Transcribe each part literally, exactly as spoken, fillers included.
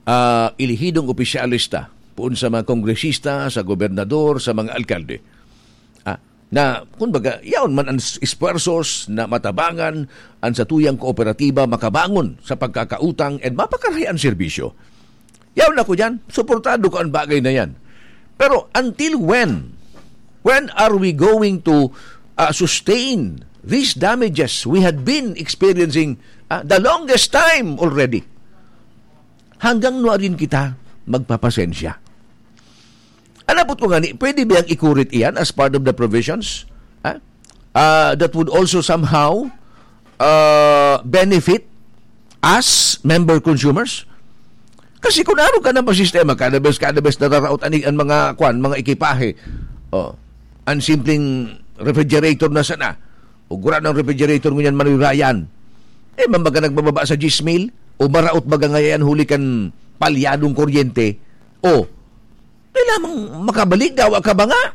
ah, elehidong opisyales ta, poon sa mga kongresista, sa gobernador, sa mga alkalde. Ah, na, kumbaga, yaon man an s-, esfuerzos na matabangan an satuyang kooperatiba makabangon sa pagkakautang and mapakarahay an serbisyo. Yaon ako diyan, suportado ko an bagay na yan. Pero until when? When are we going to, ah, sustain these damages we had been experiencing, ah, the longest time already? Hanggang nuarin kita magpapasensya? An apot ko ngani, pwede biyang ikurit iyan as part of the provisions? Ha? Ah, that would also somehow, ah, benefit us, member consumers? Kasi kun arog ka na pa sistema, kada bes, kada bes nararaot ani an mga, kwan, mga ekipahe. Oh, an simpleng refrigerator na sana. O gura ng refrigerator ngunyan, Manoy Ryan. Eh, man baga nagbababa sa diyes mil? O maraot baga ngayon huli kan palyadong kuryente? O, kailangan makabalik, dawa ka ba nga?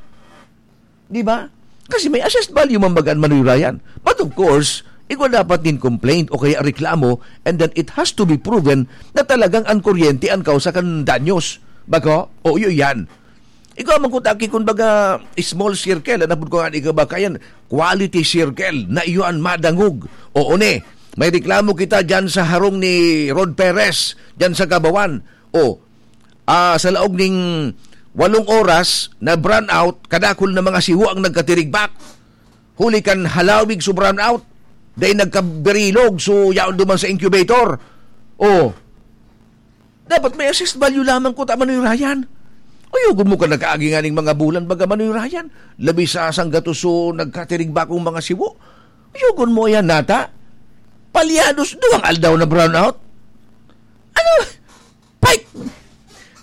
Di ba? Kasi may assessed value man baga an Manoy Ryan. But of course, igwa dapat nin complaint o kaya reklamo, and then it has to be proven na talagang an kuryente an kausa kan danyos. Baga? O, iyo yan. Igwa man kuta ki, kun baga, small circle, an apod ko nga, igwa ba kayan, quality circle, na iyo an madangog. Oo, ne. May reklamo kita dyan sa harong ni Rod Perez, dyan sa Gabawan. O, ah, sa laog ning walong oras na brownout, kadakul na mga siwo ang nagkatirigbak. Huli kan halawig so brownout, dahil nagkabirilog, so yaon duman sa incubator. O, dapat may assessed value lamang kuta, Manoy Ryan. Uyogon mo ka nakaagi nga ning mga bulan, baga, Manoy Ryan. Labi sa sanggatos so nagkatirigbakong mga siwo. Uyogon mo yan, nata. Palyados, duwang aldaw na brownout. Ano? Pay!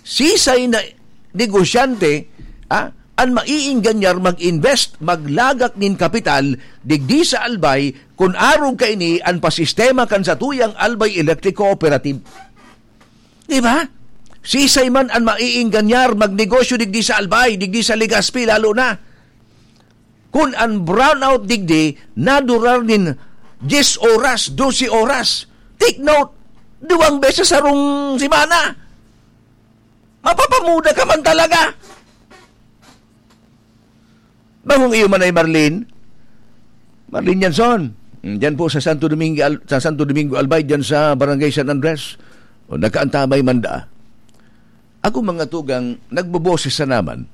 Sisay na negosyante, ah, an maiingganyar mag-invest, maglagak nin kapital digdi sa Albay, kun arog kaini an pasistema kan satuyang Albay Electric Cooperative. Di ba? Sisay man an maiingganyar magnegosyo digdi sa Albay, digdi sa Legazpi, lalo na kun an brownout digdi nadurar nin diyes oras, dose oras. Take note, duwang beses sarong semana. Mapapamuda ka man talaga. Bangong iyo man ay Marlene. Marlene Yanson. Mm, diyan po sa Santo Domingo, Al-, sa Santo Domingo Albay, diyan sa Barangay San Andres. O, nakaantabay man daa. Ako, mga tugang, nagboboses na naman.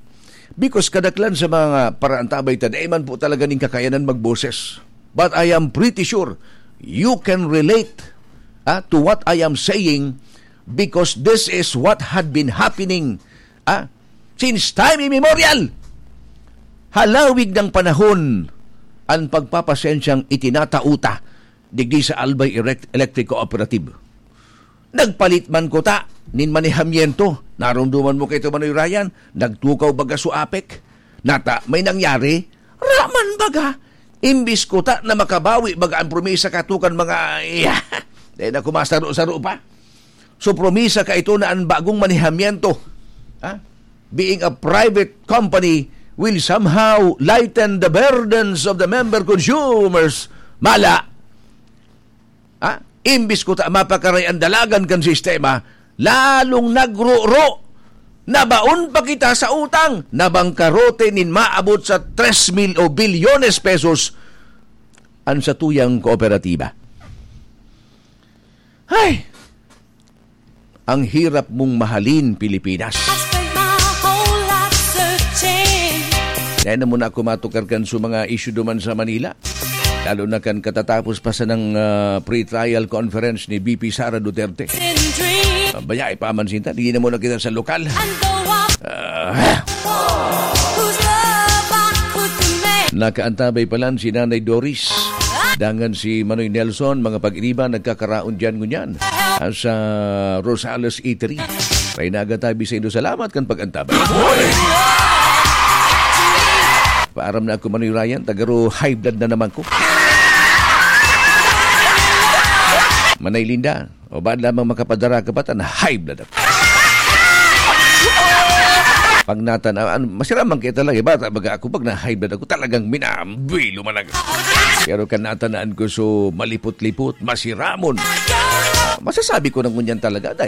Because kadaklan sa mga paraantabay ta, dai man po talaga ning kakayanan magboses. But I am pretty sure you can relate, ah, to what I am saying, because this is what had been happening, ah, since time immemorial. Halawig ng panahon an pagpapasensyang itinatao ta digdi sa Albay Erect-, Electric Cooperative. Nagpalit man kuta nin manehamiento. Naromdoman mo kaito, Manoy Ryan? Nagtukaw baga so apek. Nata, may nangyari? Ra man baga. Imbis kuta na makabawi baga an promisa kato kan mga, iya, dai na kumasaro-saro pa. So, promisa kaito na an bagong manehamiento, ha? Being a private company will somehow lighten the burdens of the member consumers. Mala. Ha? Imbis kuta mapakaray an dalagan kan sistema, lalong nagruro. Nabaon pa kita sa utang. Nabangkarote nin maabot sa tres mil o bilyones pesos an satuyang kooperatiba. Hay! Ang hirap mong mahalin, Pilipinas. I spent my whole life searching. Dai na muna ako matukar kan su mga issue duman sa Manila. Lalo na kan katatapos pa sanang, ah, pre-trial conference ni V P Sara Duterte. In dream. Ah, bayai pa man sinta, di na muna kita sa lokal. And go up. Ah. Whose love I could command. Nakaantabay pa lang si Nanay Doris. Dangan si Manoy Nelson, mga pag-iriba, nagkakaraon diyan ngunyan, ah, sa Rosales Eatery. May nagatabi sa inyo. Salamat kan pag-antabay. Paaram na ako, Manoy Ryan, tagaro high blood na naman ko. Manay Linda, o ba lamang makapadara ka pa, tan high blood ako. Pag natan-, ah, ano, masira man kita lang, eh, bata, baga ako, pag na-high blood ako, talagang minambilo man ako. Pero kan natanaan ko, so, malipot-lipot, masiramon. Masasabi ko na ngunyan talaga, dahil